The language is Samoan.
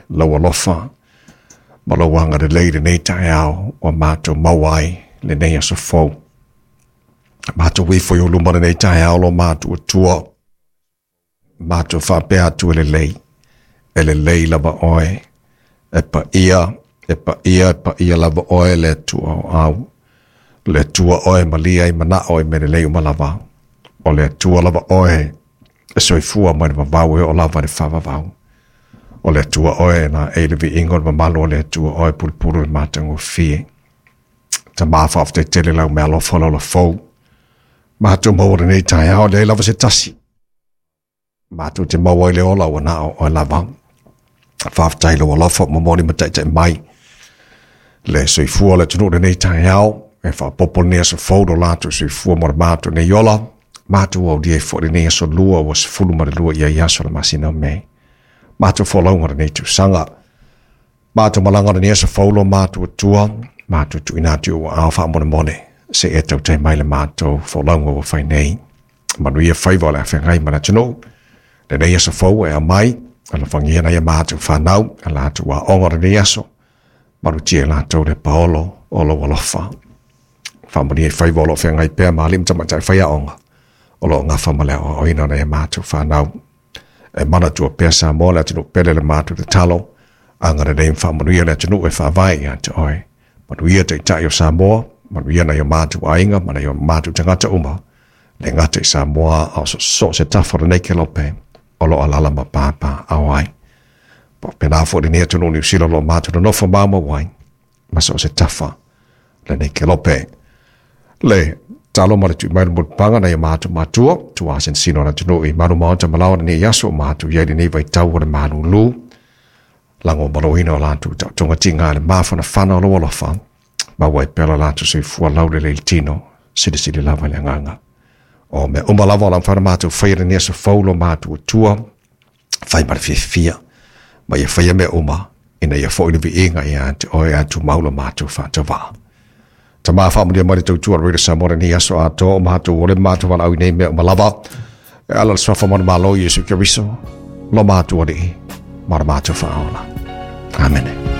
lau alofa ma lou agalelei i lenei taeao ua matou maua ai lenei aso fou. Matou ifo i ou luma lenei taeao lo matou Atua, matou faapea atu e lelei, e lelei lava oe, e paia, e paia, e paia lava oe le Atua o au. Le Atua oe e malia ai manao i mea lelei uma lava. O le Atua lava oe e soifua mai le vavau e oo lava i le faavavau. O le Atua oe na e le viiga o le mamalu o le Atua oe pulupulu le matagofie. Tama faafetai tele lau meaalofa lau lafou. Matou maua lenei taeao leai lava se tasi. Matou te maua i le ola ua na o oe lava. Faafetai lou alofa momoli ma taitai mai. Le soifua o le atunuu lenei taeao, e faaopoopo lenei aso fou lo latou soifua mo le matou nei ola. Matou aulia ai foi lenei aso lua ua 12 ia i aso le masina o Mei. Matou folauga lenei tausaga. Matou malaga lenei aso fou lo matou Atua, matou tuuina atu i ou aao faamolemole, se i e tautai mai le matou folauga ua fai nei. Manuia faiva o le a feagai ma le atunuu. Lenei aso fou e aumai, alofagia nai a matou fanau, a latou aoga o lenei aso, malutia i latou le paolo o lou alofa. Faamanuia i faiva o lo o feagai pea ma alii ma tamaitai faiaoga, o lo o gafa ma le aoaoina o nai a matou fanau. E manatua pea Samoa le atunuu pele le matou tatalo, agalelei ma faamanuia le atunuu e faavae ia te oe. Manuia taitai o Samoa, manuia nai o matou aiga ma nai o matou tagata uma, le gata i Samoa a o so se tafa o lenei kelope o lo o alaala ma papaaao ai. Faapena foi lenei atunuu Niu Sila o lo o matou nonofo maumau ai, ma so o se tafa lenei kelope. Le talo ma le tui mai le mulipapaga nai o matou matua, tua sinosino o le atunuu i malu maota ma laoa lenei aso o matou i ai lenei vaitau o le malulu. Lago maloina o latou taotoga tiga le mafanafana o lou alofa, maua ai pea lo latou soifua laulelei i le tino, silisili lava i le agaga. O mea uma lava o le a mafai ona matou faia lenei aso fou lo matou Atua, fai ma le fiafia, ma ia faia mea uma, ina ia foi le viiga ia te oe ae tumau lo matou faatauvaa. Tama faamanuia mai le tautua a Radio Samoa lenei aso atoa o matou ole matou valaau i nei mea uma lava. E ala le suafa manumalo Iesu Keriso, lo matou Alii, ma lo matou Faaola. Amene.